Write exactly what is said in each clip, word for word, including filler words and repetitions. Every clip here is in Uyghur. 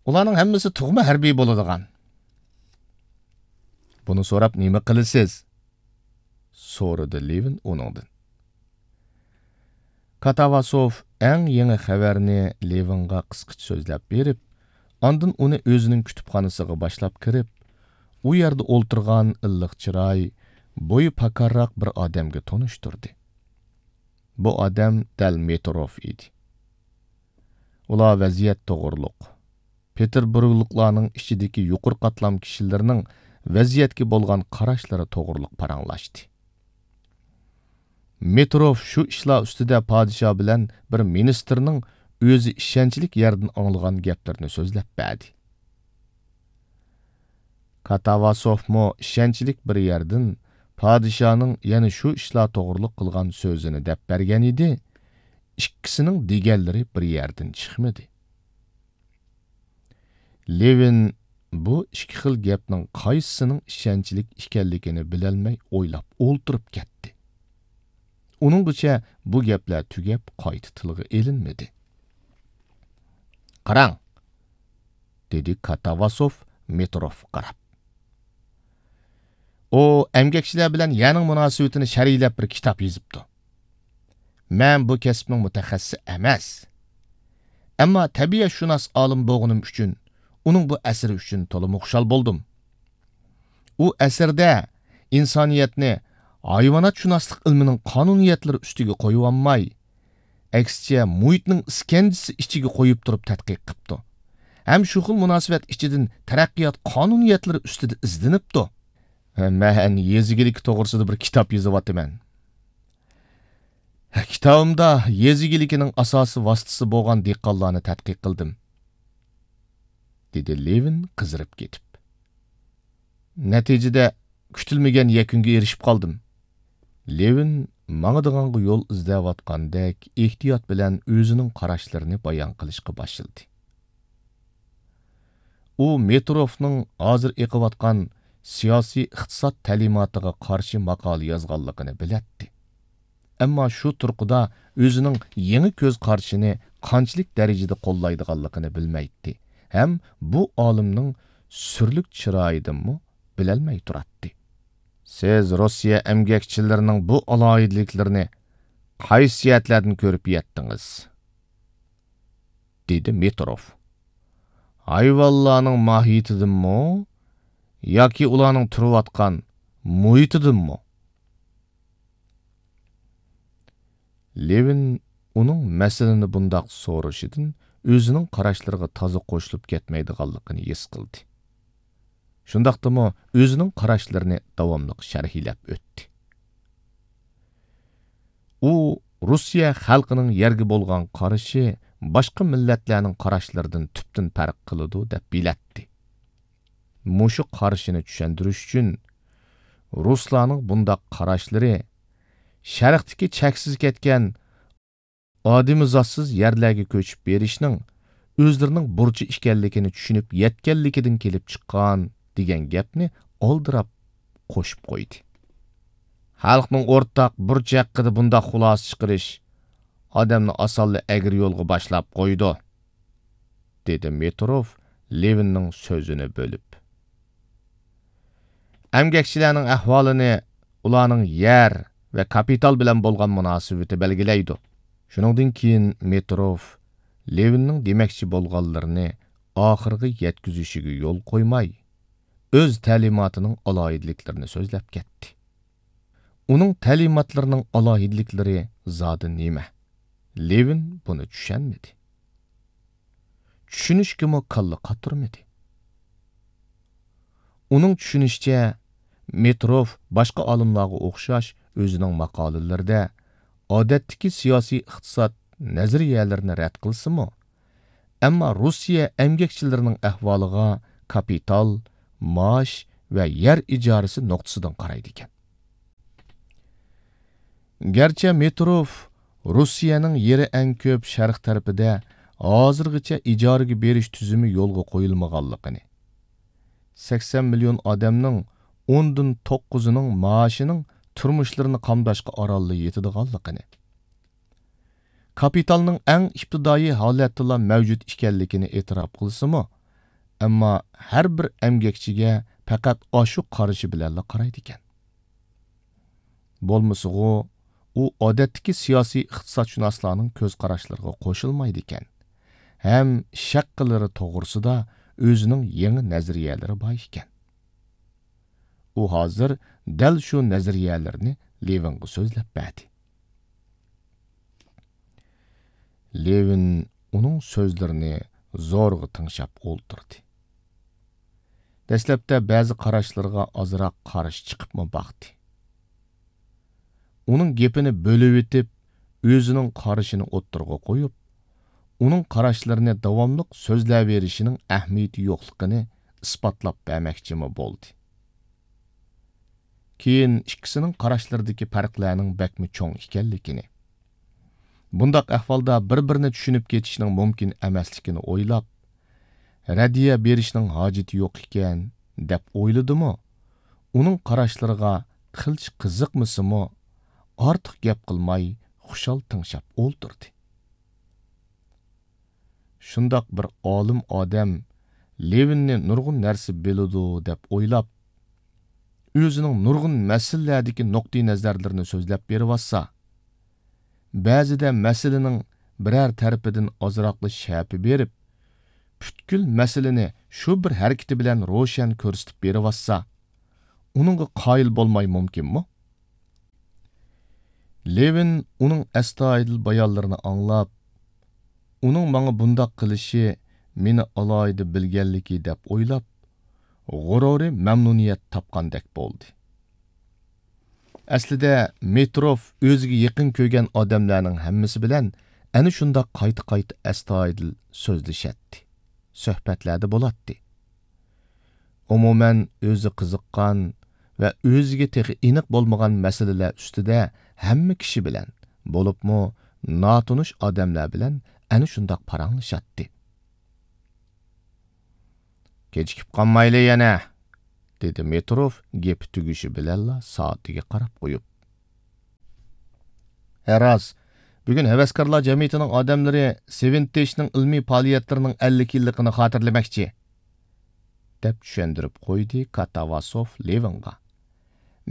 ئۇلارنىڭ ھەممىسى تۇغما ھەربىي بولىدىغان. بۇنى سوراپ نېمە قىلىسىز؟ سورىدى لېۋىن ئۇنىڭدىن. كاتاۋاسوف ئەڭ يېڭى خەۋەرنى لېۋىنغا قىسقىچە سۆزلەپ بېرىپ، ئاندىن ئۇنى ئۆزىنىڭ كۇتۇپخانىسىغا باشلاپ كىرىپ، ئۇ يەردە ئولتۇرغان ئىللىق چىراي، بويى پاكارراق بىر ئادەمگە تونۇشتۇردى. بۇ ئادەم دەل مېتروف ئىدى. ئۇلار ۋەزىيەت توغرۇلۇق، پېتېربۇرگلۇقلارنىڭ ئىچىدىكى يۇقىرى قاتلام كىشىلىرىنىڭ ۋەزىيەتكە بولغان قاراشلىرى توغرۇلۇق پاراڭلاشتى. مېتروف شۇ ئىشلار ئۈستىدە پادىشاھ بىلەن بىر مىنىستىرنىڭ ئۆزى ئىشەنچلىك يەردىن ئاڭلىغان گەپلىرىنى سۆزلەپ بەردى. كاتاۋاسوفمۇ ئىشەنچلىك بىر يەردىن پادىشاھنىڭ يەنە شۇ ئىشلار توغرۇلۇق قىلغان سۆزىنى دەپ بەرگەن ئىدى، ئىككىسىنىڭ دېگەنلىرى بىر يەردىن چىقمىدى. لېۋىن بۇ ئىككى خىل گەپنىڭ قايسىسىنىڭ ئىشەنچلىك ئىكەنلىكىنى بىلەلمەي ئويلاپ ئولتۇرۇپ كەتتى. ئۇنىڭغىچە بۇ گەپلەر تۈگەپ قايتا تىلغا ئېلىنمىدى. «قاراڭ!» دېدى كاتاۋاسوف مېتروفقا قاراپ. ئۇ ئەمگەكچىلەر بىلەن يەرنىڭ مۇناسىۋىتىنى شەرھلەپ بىر كىتاب يېزىپتۇ. مەن بۇ كەسىپنىڭ مۇتەخەسسىسى ئەمەس. ئەمما تەبىئەتشۇناس ئالىم بولغىنىم ئۈچۈن ئۇنىڭ بۇ ئەسىرى ئۈچۈن تولىمۇ خۇشال بولدۇم. ئۇ ئەسەردە ئىنسانىيەتنى ھايۋاناتشۇناسلىق ئىلمىنىڭ قانۇنىيەتلىرى ئۈستىگە قويۇۋالماي، ئەكسىچە مۇھىتنىڭ ئىسكەنجىسى ئىچىگە قويۇپ تۇرۇپ تەتقىق قىپتۇ. ھەم شۇ خىل مۇناسىۋەت ئىچىدىن تەرەققىيات قانۇنىيەتلىرى ئۈستىدە ئىزدىنىپتۇ. مەن يېزا ئىگىلىكى توغرىسىدا بىر كىتاب يېزىۋاتىمەن. كىتابىمدا يېزا ئىگىلىكىنىڭ ئاساسىي ۋاسىتىسى بولغان دېھقانلارنى تەتقىق قىلدىم، دېدى لېۋىن قىزىرىپ كېتىپ. نەتىجىدە كۈتۈلمىگەن يەكۈنگە ئېرىشىپ قالدىم. لېۋىن ماڭىدىغانغا يول ئىزدەۋاتقاندەك ئېھتىيات بىلەن ئۆزىنىڭ قاراشلىرىنى بايان قىلىشقا باشلىدى. ئۇ مېتروفنىڭ ھازىر ئېقىۋاتقان سىياسىي ئىقتىساد تەلىماتىغا قارشى ماقالە يازغانلىقىنى بىلەتتى. ئەمما شۇ تۇرقىدا ئۆزىنىڭ يېڭى كۆز قارىشىنى قانچىلىك دەرىجىدە قوللايدىغانلىقىنى بىلمەيتتى ھەم بۇ ئالىمنىڭ سۈرلۈك چىرايىدىنمۇ بىلەلمەي تۇراتتى. «سىز روسىيە ئەمگەكچىلىرىنىڭ بۇ ئالاھىدىلىكلىرىنى قايسى جەھەتلەردىن كۆرۈپ يەتتىڭىز؟» دېدى مېتروف. «ھايۋانلارنىڭ ماھىيىتىدىنمۇ ياكى ئۇلارنىڭ تۇرۇۋاتقان مۇھىتىدىنمۇ؟» لېۋىن ئۇنىڭ مەسىلىنى بۇنداق سورىشىدىن ئۆزىنىڭ قاراشلىرىغا تازا قوشۇلۇپ كەتمەيدىغانلىقىنى ھېس قىلدى. شۇنداقتىمۇ ئۆزىنىڭ قاراشلىرىنى داۋاملىق شەرھلەپ ئۆتتى. ئۇ روسىيە خەلقىنىڭ يەرگە بولغان قارىشى باشقا مىللەتلەرنىڭ قاراشلىرىدىن تۈپتىن پەرق قىلىدۇ دەپ بىلەتتى. مۇشۇ قارىشىنى چۈشەندۈرۈش ئۈچۈن رۇسلارنىڭ بۇنداق قاراشلىرى شەرقتىكى چەكسىز كەتكەن ئادىمىزاتسىز يەرلەرگە كۆچۈپ بېرىشنىڭ ئۆزلىرىنىڭ بۇرچى ئىكەنلىكىنى چۈشىنىپ يەتكەنلىكىدىن كېلىپ چىققان دېگەن گەپنى ئالدىراپ قوشۇپ قويدى. خەلقنىڭ ئورتاق بۇرچى ھەققىدە بۇنداق خۇلاسە چىقىرىش ئادەمنى ئاسانلا ئەگرى يولغا باشلاپ قويىدۇ، دېدى مېتروف لېۋىننىڭ سۆزىنى بۆلۈپ. ئەمگەكچىلەرنىڭ ئەھۋالىنى ئۇلارنىڭ يەر ۋە كاپىتال بىلەن بولغان مۇناسىۋىتى بەلگىلەيدۇ. شۇنىڭدىن كېيىن مېتروف لېۋىننىڭ دېمەكچى بولغانلىرىنى ئاخىرىغا يەتكۈزۈشىگە يول قويماي، ئۆز تەلىماتىنىڭ ئالاھىدىلىكلىرىنى سۆزلەپ كەتتى. ئۇنىڭ تەلىماتلىرىنىڭ ئالاھىدىلىكلىرى زادى نېمە؟ لېۋىن بۇنى چۈشەنمىدى. چۈشىنىشكىمۇ كاللا قاتۇرمىدى. ئۇنىڭ چۈشىنىشىچە، مېتروف باشقا ئالىملارغا ئوخشاش ئۆزىنىڭ ماقالىلىرىدە ئادەتتىكى سىياسىي ئىقتىساد نەزەرىيەلىرىنى رەت قىلسىمۇ، ئەمما روسىيە ئەمگەكچىلىرىنىڭ ئەھۋالىغا كاپىتال، مائاش ۋە يەر ئىجارىسى نۇقتىسىدىن قارايدىكەن. گەرچە مېتروف روسىيەنىڭ يېرى ئەڭ كۆپ شەرق تەرىپىدە ھازىرغىچە ئىجارىگە بېرىش تۈزۈمى يولغا قويۇلمىغانلىقىنى، سەكسەن مىليون ئادەمنىڭ ئوندىن توققۇزىنىڭ مائاشىنىڭ تۇرمۇشلىرىنى قامداشقا ئارانلا يېتىدىغانلىقىنى، كاپىتالنىڭ ئەڭ ئىپتىدائىي ھالەتتىلا مەۋجۇت ئىكەنلىكىنى ئېتىراپ قىلسىمۇ، ئەمما ھەر بىر ئەمگەكچىگە پەقەت ئاشۇ قارىشى بىلەنلا قارايدىكەن. بولمىسىغۇ، ئۇ ئادەتتىكى سىياسىي ئىقتىسادشۇناسلارنىڭ كۆز قاراشلىرىغا قوشۇلمايدىكەن ھەم ئىش ھەققىلىرى توغرىسىدا ئۆزىنىڭ يېڭى نەزەرىيەلىرى بار ئىكەن. ئۇ ھازىر دەل شۇ نەزەرىيەلىرىنى لېۋىنغا سۆزلەپ بەردى. لېۋىن ئۇنىڭ سۆزلىرىنى زورىغا تىڭشاپ ئولتۇردى. دەسلەپتە بەزى قاراشلىرىغا ئازراق قارشى چىقىپمۇ باقتى. ئۇنىڭ گېپىنى بۆلۈۋېتىپ، ئۆزىنىڭ قارىشىنى ئوتتۇرىغا قويۇپ، ئۇنىڭ قاراشلىرىنى داۋاملىق سۆزلەۋېرىشىنىڭ ئەھمىيىتى يوقلۇقىنى ئىسپاتلاپ بەرمەكچىمۇ بولدى. كېيىن ئىككىسىنىڭ قاراشلىرىدىكى پەرقلەرنىڭ بەكمۇ چوڭ ئىكەنلىكىنى، بۇنداق ئەھۋالدا بىر-بىرىنى چۈشىنىپ كېتىشنىڭ مۇمكىن ئەمەسلىكىنى ئويلاپ، رەددىيە بېرىشنىڭ ھاجىتى يوق ئىكەن، دەپ ئويلىدىمۇ، ئۇنىڭ قاراشلىرىغا قىلچە قىزىقمىسىمۇ، ئارتۇق گەپ قىلماي خۇشال تىڭشاپ ئولتۇردى. شۇنداق بىر ئالىم ئادەم لېۋىننى نۇرغۇن نەرسە بىلىدۇ دەپ ئويلاپ، ئۆزىنىڭ نۇرغۇن مەسىلىلەردىكى نۇقتىئىنەزەرلىرىنى سۆزلەپ بېرىۋاتسا، بەزىدە مەسىلىنىڭ بىرەر تەرىپىدىن ئازراقلا شەپە بېرىپ، پۈتكۈل مەسىلىنى شۇ بىر ھەرىكىتى بىلەن روشەن كۆرسىتىپ بېرىۋاتسا، ئۇنىڭغا قايىل بولماي مۇمكىنمۇ؟ لېۋىن ئۇنىڭ ئەستايىدىل بايانلىرىنى ئاڭلاپ، ئۇنىڭ ماڭا بۇنداق قىلىشى مېنى ئالاھىدە بىلگەنلىكى دەپ ئويلاپ، غۇرۇرى مەمنۇنىيەت تاپقاندەك بولدى. ئەسلىدە مېتروف ئۆزىگە يېقىن كۆرگەن ئادەملەرنىڭ ھەممىسى بىلەن ئەنە شۇنداق قايتا-قايتا ئەستايىدىل سۆزلىشەتتى، سۆھبەتلەردە بولاتتى. ئومۇمەن، ئۆزى قىزىققان ۋە ئۆزىگە تېخى ئېنىق بولمىغان مەسىلىلەر ئۈستىدە ھەممە كىشى بىلەن، بولۇپمۇ ناتونۇش ئادەملەر بىلەن ئەنە شۇنداق پاراڭلىشاتتى. «كېچىكىپ قالمايلى يەنە»، دېدى مېتروف گېپى تۈگىشى بىلەنلا سائىتىگە قاراپ قويۇپ. «ھە راست، بۈگۈن ھەۋەسكارلار جەمئىيىتىنىڭ ئادەملىرى سېۋىنتېشنىڭ ئىلمىي پائالىيەتلىرىنىڭ ئەللىك يىللىقىنى خاتىرىلىمەكچى»، دەپ چۈشەندۈرۈپ قويدى كاتاۋاسوف لېۋىنغا.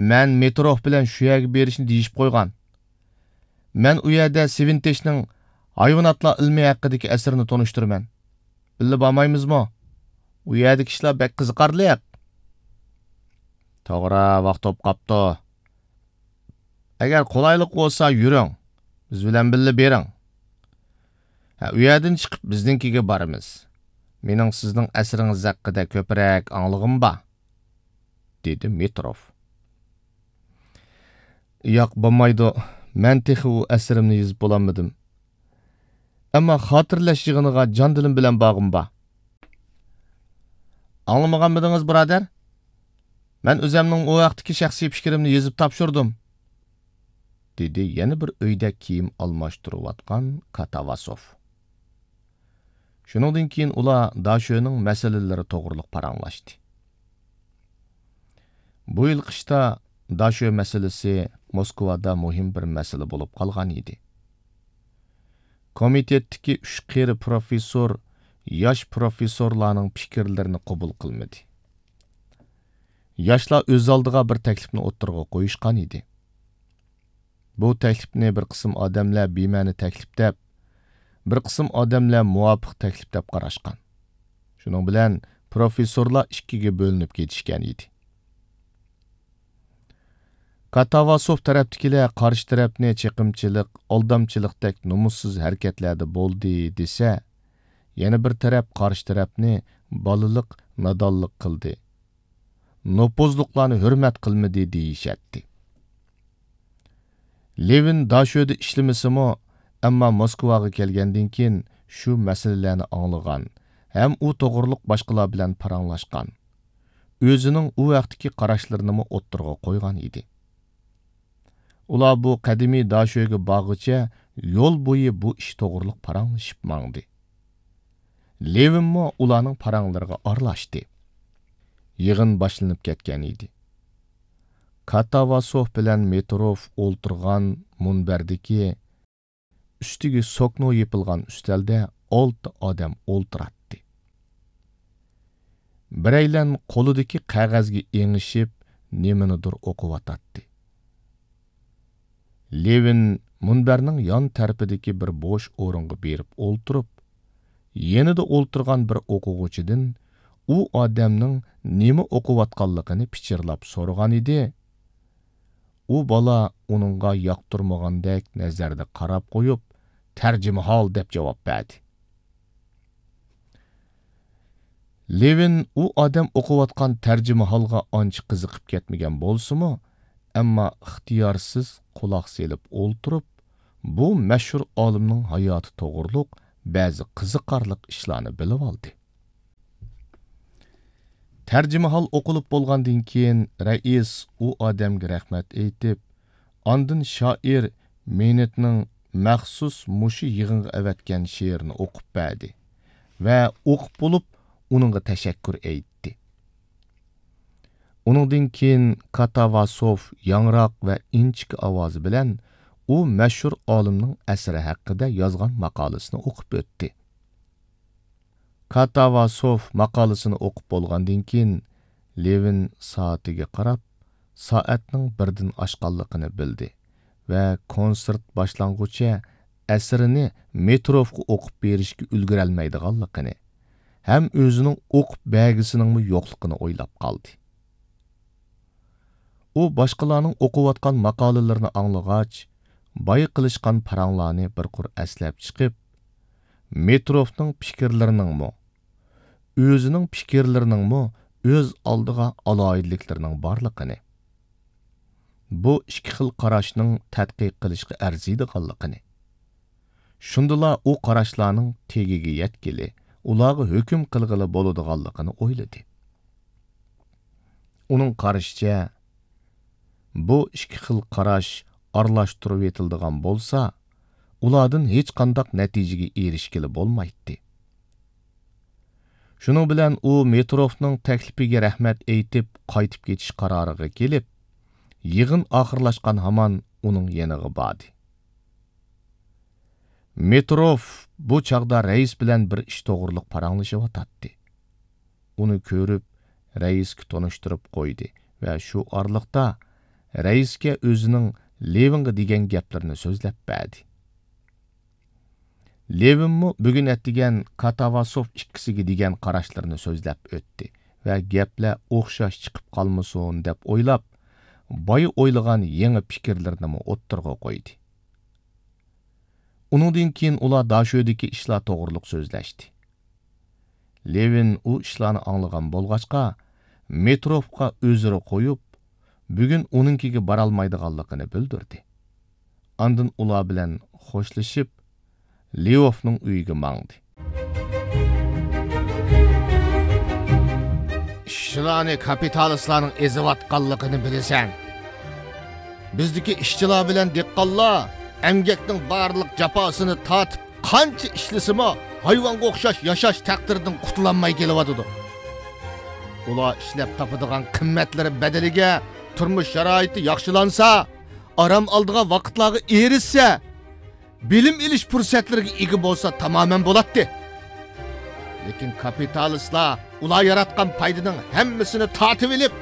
«مەن مېتروف بىلەن شۇ يەرگە بېرىشنى دېيىشىپ قويغان. مەن ئۇ يەردە سېۋىنتېشنىڭ ھايۋاناتلار ئىلمى ھەققىدىكى ئەسىرىنى تونۇشتۇرىمەن. بىللە بارمايمىزمۇ؟ ئۇ يەردىكى ئىشلار بەك قىزىقارلىق.» «توغرا، ۋاقىت بولۇپ قاپتۇ. ئەگەر قولايلىق بولسا يۈرۈڭ، بىز بىلەن بىللە بېرىڭ. ھە، ئۇ يەردىن چىقىپ بىزنىڭكىگە بارىمىز. مېنىڭ سىزنىڭ ئەسىرىڭىز ھەققىدە كۆپرەك ئاڭلىغۇم بار»، دېدى مېتروف. «ياق، بولمايدۇ. مەن تېخى ئۇ ئەسىرىمنى يېزىپ بولالمىدىم. ئەمما خاتىرىلەش يىغىنىغا جان-دىلىم بىلەن بارغۇم بار.» «ئاڭلىمىغانمىدىڭىز، بۇرادەر؟ مەن ئۆزەمنىڭ ئۇ ھەقتىكى شەخسىي پىكرىمنى يېزىپ تاپشۇردۇم»، دېدى يەنە بىر ئۆيدە كىيىم ئالماشتۇرۇۋاتقان كاتاۋاسوف. شۇنىڭدىن كېيىن ئۇلار داشۆنىڭ مەسىلىلىرى توغرىلىق پاراڭلاشتى. بۇ يىل قىشتا داشۆ مەسىلىسى موسكۋادا مۇھىم بىر مەسىلە بولۇپ قالغان ئىدى. كومىتېتتىكى ئۈچ قېرى پروفېسسور ياش پروفېسسورلارنىڭ پىكىرلىرىنى قوبۇل قىلمىدى. ياشلار ئۆز ئالدىغا بىر تەكلىپنى ئوتتۇرىغا قويۇشقان ئىدى. بۇ تەكلىپنى بىر قىسىم ئادەملەر بىمەنە تەكلىپ دەپ، بىر قىسىم ئادەملەر مۇۋاپىق تەكلىپ دەپ قاراشقان. شۇنىڭ بىلەن پروفېسسورلار ئىككىگە بۆلۈنۈپ كېتىشكەن ئىدى. كاتاۋاسوف تەرەپتىكىلەر قارشى تەرەپنى چېقىمچىلىق، ئالدامچىلىقتەك نومۇسسىز ھەرىكەتلەردە بولدى دېسە، يەنە بىر تەرەپ قارشى تەرەپنى بالىلىق، نادانلىق قىلدى، نوپۇزلۇقلارنى ھۆرمەت قىلمىدى دېيىشەتتى. لېۋىن داشۆدە ئىشلىمىسىمۇ، ئەمما موسكۋاغا كەلگەندىن كېيىن شۇ مەسىلىلەرنى ئاڭلىغان ھەم ئۇ توغرۇلۇق باشقىلار بىلەن پاراڭلاشقان، ئۆزىنىڭ ئۇ ھەقتىكى قاراشلىرىنىمۇ ئوتتۇرىغا قويغان ئىدى. ئۇلار بۇ قەدىمىي داشۆگە بارغۇچە يول بويى بۇ ئىش توغرۇلۇق پاراڭلىشىپ ماڭدى. لېۋىنمۇ ئۇلارنىڭ پاراڭلىرىغا ئارىلاشتى. يىغىن باشلىنىپ كەتكەن ئىدى. كاتاۋاسوف بىلەن مېتروف ئولتۇرغان مۇنبەردىكى ئۈستىگە سوكنو يېپىلغان ئۈستەلدە ئالتە ئادەم ئولتۇراتتى. بىرەيلەن قولىدىكى قەغەزگە ئېڭىشىپ، نېمىنىدۇر ئوقۇۋاتاتتى. لېۋىن مۇنبەرنىڭ يان تەرىپىدىكى بىر بوش ئورۇنغا بېرىپ ئولتۇرۇپ، يېنىدا ئولتۇرغان بىر ئوقۇغۇچىدىن ئۇ ئادەمنىڭ نېمە ئوقۇۋاتقانلىقىنى پىچىرلاپ سورىغان ئىدى. ئۇ بالا ئۇنىڭغا ياقتۇرمىغاندەك نەزەردە قاراپ قويۇپ، «تەرجىمىھال» دەپ جاۋاب بەردى. لېۋىن ئۇ ئادەم ئوقۇۋاتقان تەرجىمىھالغا ئانچە قىزىقىپ كەتمىگەن بولسىمۇ، ئەمما ئىختىيارسىز قۇلاق سېلىپ ئولتۇرۇپ، بۇ مەشھۇر ئالىمنىڭ ھاياتى توغرۇلۇق بەزى قىزىقارلىق ئىشلارنى بىلىۋالدى. تەرجىمىھال ئوقۇلۇپ بولغاندىن كېيىن، رەئىس ئۇ ئادەمگە رەھمەت ئېيتىپ، ئاندىن شائىر مېنېتنىڭ مەخسۇس مۇشۇ يىغىنغا ئەۋەتكەن شېئىرىنى ئوقۇپ بەردى ۋە ئوقۇپ بولۇپ، ئۇنىڭغا تەشەككۈر ئېيتتى. ئۇنىڭدىن كېيىن كاتاۋاسوف ياڭراق ۋە ئىنچىكە ئاۋازى بىلەن ئۇ مەشھۇر ئالىمنىڭ ئەسىرى ھەققىدە يازغان ماقالىسىنى ئوقۇپ ئۆتتى. كاتاۋاسوف ماقالىسىنى ئوقۇپ بولغاندىن كېيىن، لېۋىن سائىتىگە قاراپ، سائەتنىڭ بىردىن ئاشقانلىقىنى بىلدى ۋە كونسېرت باشلانغۇچە ئەسىرىنى مېتروفقا ئوقۇپ بېرىشكە ئۈلگۈرەلمەيدىغانلىقىنى ھەم ئۆزىنىڭ ئوقۇپ بەرگۈسىنىڭمۇ يوقلۇقىنى ئويلاپ قالدى. ئۇ باشقىلارنىڭ ئوقۇۋاتقان ماقالىلىرىنى ئاڭلىغاچ، بايا قىلىشقان پاراڭلارنى بىر قۇر ئەسلەپ چىقىپ، مېتروفنىڭ پىكىرلىرىنىڭمۇ، ئۆزىنىڭ پىكىرلىرىنىڭمۇ ئۆز ئالدىغا ئالاھىدىلىكلىرىنىڭ بارلىقىنى، بۇ ئىككى خىل قاراشنىڭ تەتقىق قىلىشقا ئەرزىيدىغانلىقىنى، شۇندىلا ئۇ قاراشلارنىڭ تېگىگە يەتكىلى، ئۇلارغا ھۆكۈم قىلغىلى بولىدىغانلىقىنى ئويلىدى. ئۇنىڭ قارىشىچە، بۇ ئىككى خىل قاراش ئارىلاشتۇرۇۋېتىلىدىغان بولسا، ئۇلاردىن ھېچقانداق نەتىجىگە ئېرىشكىلى بولمايتتى. شۇنىڭ بىلەن ئۇ مېتروفنىڭ تەكلىپىگە رەھمەت ئېيتىپ، قايتىپ كېتىش قارارىغا كېلىپ، يىغىن ئاخىرلاشقان ھامان ئۇنىڭ يېنىغا باردى. مېتروف بۇ چاغدا رەئىس بىلەن بىر ئىش توغرۇلۇق پاراڭلىشىۋاتاتتى. ئۇنى كۆرۈپ، رەئىسكە تونۇشتۇرۇپ قويدى ۋە شۇ ئارىلىقتا رەئىسكە ئۆزىنىڭ لېۋىنغا دېگەن گەپلىرىنى سۆزلەپ بەردى. لېۋىنمۇ بۈگۈن ئەتىگەن كاتاۋاسوف ئىككىسىگە دېگەن قاراشلىرىنى سۆزلەپ ئۆتتى ۋە گەپلەر ئوخشاش چىقىپ قالمىسۇن دەپ ئويلاپ، بايا ئويلىغان يېڭى پىكىرلىرىنىمۇ ئوتتۇرىغا قويدى. ئۇنىڭدىن كېيىن ئۇلار داشۆدىكى ئىشلار توغرۇلۇق سۆزلەشتى. لېۋىن ئۇ ئىشلارنى ئاڭلىغان بولغاچقا، مېتروفقا ئۆزرە قويۇپ، بۈگۈن ئۇنىڭكىگە بارالمايدىغانلىقىنى بىلدۈردى. ئاندىن ئۇلار بىلەن خوشلىشىپ، لېۋوفنىڭ ئۆيىگە ماڭدى. ئىشچىلارنى كاپىتالىستلارنىڭ ئېزىۋاتقانلىقىنى بىلىسەن. بىزدىكى ئىشچىلار بىلەن دېھقانلار ئەمگەكنىڭ بارلىق جاپاسىنى تارتىپ، قانچە ئىشلىسىمۇ، ھايۋانغا ئوخشاش ياشاش تەقدىرىدىن قۇتۇلالماي كېلىۋاتىدۇ. ئۇلار ئىشلەپ تاپىدىغان قىممەتلىرى بەدىلىگە تۇرمۇش شارائىتى ياخشىلانسا، ئارام ئالىدىغان ۋاقىتلارغا ئېرىشسە، بىلىم ئېلىش پۇرسەتلىرىگە ئىگە بولسا تامامەن بولاتتى. لېكىن كاپىتالىستلار ئۇلار ياراتقان پايدىنىڭ ھەممىسىنى تارتىۋېلىپ،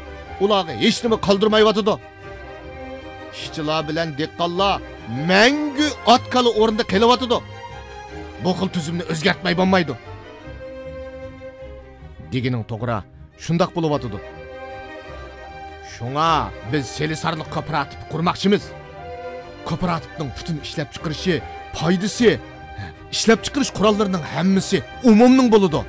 ئۇلارغا ھېچنېمە قالدۇرمايۋاتىدۇ. ئىشچىلار بىلەن دېھقانلار مەڭگۈ ئات-كالا ئورنىدا قېلىۋاتىدۇ. بۇ خىل تۈزۈمنى ئۆزگەرتمەي بولمايدۇ. دېگىنىڭ توغرا، شۇنداق بولۇۋاتىدۇ. شۇڭا بىز سېلىسارلىق كوپىراتىپى قۇرماقچىمىز. كوپىراتىپنىڭ پۈتۈن ئىشلەپچىقىرىشى، پايدىسى، ئىشلەپچىقىرىش قوراللىرىنىڭ ھەممىسى ئومۇمنىڭ بولىدۇ.